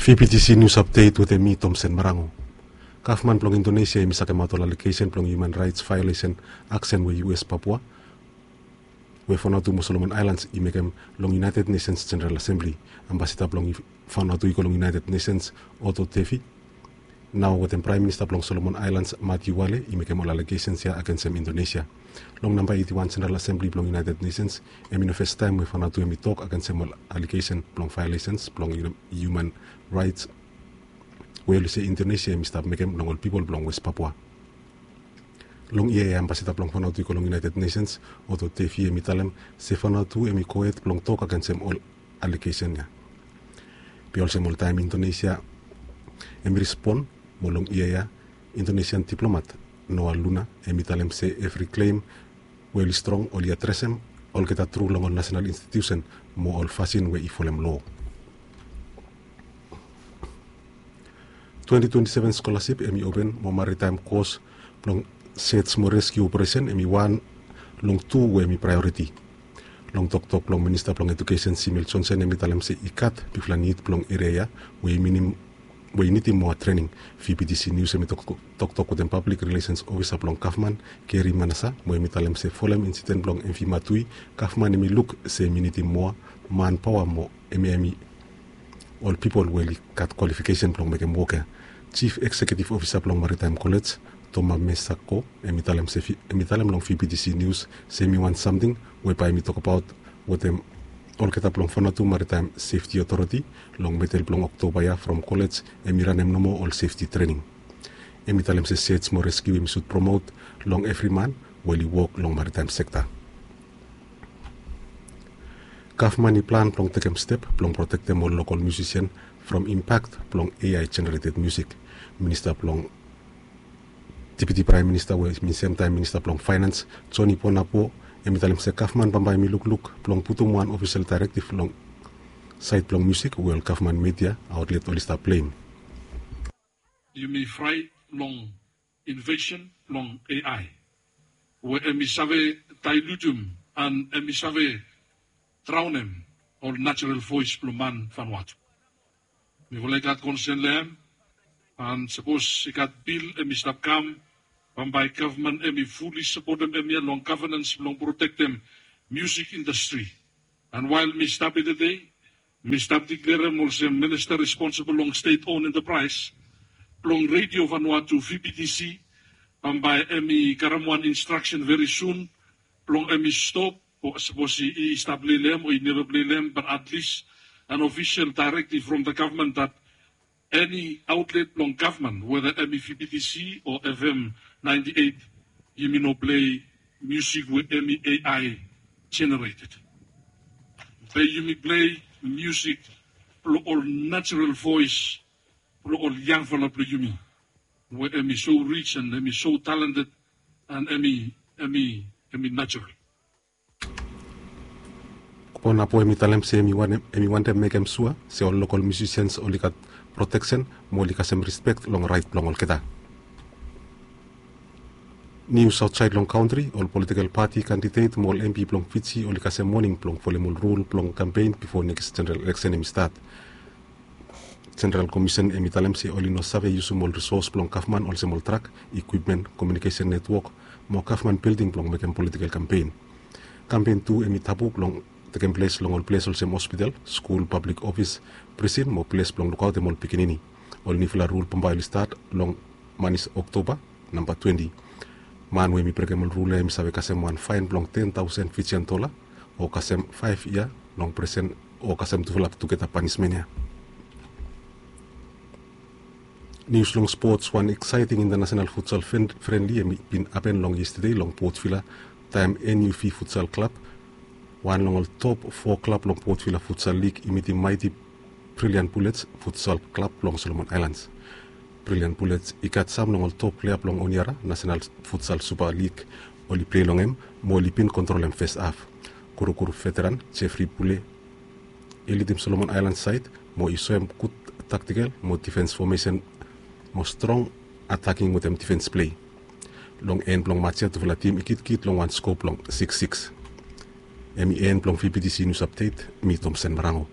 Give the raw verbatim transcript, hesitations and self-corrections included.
Vptc News Update wetem mi, Tomsen Marango. Gavman blong Indonesia hemi sakemaot ol alegesen blong hiuman raets vaeolesen aksen we U S Papua we Vanuatu mo Solomon Aelans i mekem long United Nations General Assembly. Ambasada blong Vanuatu i go long United Nations, Otto Devi, nao wetem Praem Minista blong Solomon Aelans, Marty Wale, i mekem ol alegesen ya agensem Indonesia. Long namba eiti wan General Assembly blong United Nations, hemi no fastaem we Vanuatu hemi tok agensem ol alegesen blong vaeolesens blong hiuman raets we oli se Indonesia hemi stap mekem long ol pipol blong West Papua. Long yia ya, ambasada blong Vanuatu i go long United Nations, Otto Devi, hemi talem se Vanuatu hemi gohed blong tok agensem ol alegesen ya. Be olsem oltaem, Indonesia hemi respon, mo long yia ya, Indonesian diplomat Noah Luna hemi talem se evri klem we oli strong oli adresem olgeta tru long ol nasenal institiusen mo ol fasin we i folem loa. Twenti twenti seven skolasip hemi open mo maritaem kos blong search mo reskiu operesen hemi wan long tu we hemi praeoriti. Long toktok blong Minista blong Ejukesen, Simil Johnson, hemi talem se i gat bigfala nid blong eria ya we i minim we i nidim moa trening. Vptc News hemi toktok wetem Pablik Rilesens Ofisa blong gavman, Gary Manasa, mo hemi talem se folem insiden blong M V Matui, gavman hemi luk se hemi nidim moa manpaoa mo hemi hemi ol pipol we oli gat kwalifikesen blong mekem wok ya. Jif Ekseketif Ofisa blong Maritaem Kolej, Toma Mesako, hemi talem se hemi talem long Vptc News se hemi wan samting we bae hemi tokbaot wetem olgeta blong Vanuatu Maritaem Sefti Otoriti long medel blong Oktoba ya from kolej hemi ranem nomo ol sefti trening. Hemi talem se search mo reskiu hemi sud promote long evri man we oli wok long maritaem sekta. Gavman i plan blong tekem step blong protektem ol lokol miusisian from impak blong A I generated music. Minista blong Deputi Praem Minista we hemi semtaem Minista blong Faenans, Johnny Ponapo, hemi talem se gavman bambae hemi lukluk blong putum wan ofisel daerektiv long saed blong miusik we ol gavman media aotlet oli stap pleim. Yumi fraet long invasion blong A I we hemi save daelutum an hemi save draonem ol najerol voes blong man Vanuatu. Mifala i gat konsen long hem, an sapos i gat bil hemi stap kam, bambae gavman hemi fuli sapotem hem ya long gavenans blong protektem miusik indastri. An wael mi stap ya tede, mi stap diklerem olsem minista responsibol long stet on entepraes blong Redio Vanuatu, Vptc, bambae hemi karem wan instraksen veri sun blong hemi stop, o sapos i stap lei long hem o i neva lei long hem, bat atlis an ofisel daerektiv from the gavman dat eni aotlet blong gavman, weda hemi Vptc o F M ninety eight, yumi no plei miusik we hemi A I generated. Be yumi plei miusik blong ol najerol voes blong ol yangfala blong yumi we hemi so rij an hemi so talented an hemi, hemi, hemi najerol. Ponapo hemi talem se hemi wantem mekem sua se ol lokol miusisians oli gat proteksen mo oli kasem rispek long raet blong olgeta. Nius aotsaed long kantri, ol politikel pati kandidet mo ol M P blong Fiji oli kasem moning blong folem ol rul blong kampen bifo nekis jeneral eleksen hemi stat. Jeneral Komisen hemi talem se oli no save yusum ol risos blong gavman olsem ol trak, ikwipmen, komiunikesen netwok mo gavman bilding blong mekem politikel kampen. Kampen tu hemi tabu blong tekem ples long ol ples olsem hospital, skul, pablik ofis, prisin mo ples blong lukaotem ol pikinini. Ol niufala rul bambae oli stat long manis Oktoba namba twenti. Man we hemi brekem ol rul ya hemi save kasem wan faen blong ten taosen Fijian dola, o kasem faef yia long prisen, o kasem tufala tugeta panismen ya. Nius long spots, wan eksaeting intanasenal futsal frenli hemi bin hapen long yestede long Port Vila, taem N U V Futsal Klab, wan long ol top fo klab long Port Vila Futsal Lig, i mitim Mighty Brilliant Bullets Futsal Klab blong Solomon Aelans. Brilliant Bullets i gat sam long ol top plea blong Honiara Nasenal Futsal Supa Lig oli plei long hem mo oli bin kontrolem fes haf. Kurukuru veteran Jeffrey Pule i lidim Solomon Aelans saed mo i soem gud taktikel mo difens fomesen mo strong ataking wetem difens plei. Long en blong mats ya tufala tim i gitkit long wan skoa blong sikis sikis. Hemi en blong V P T C Nius Apdet, mi Tomsen Marango.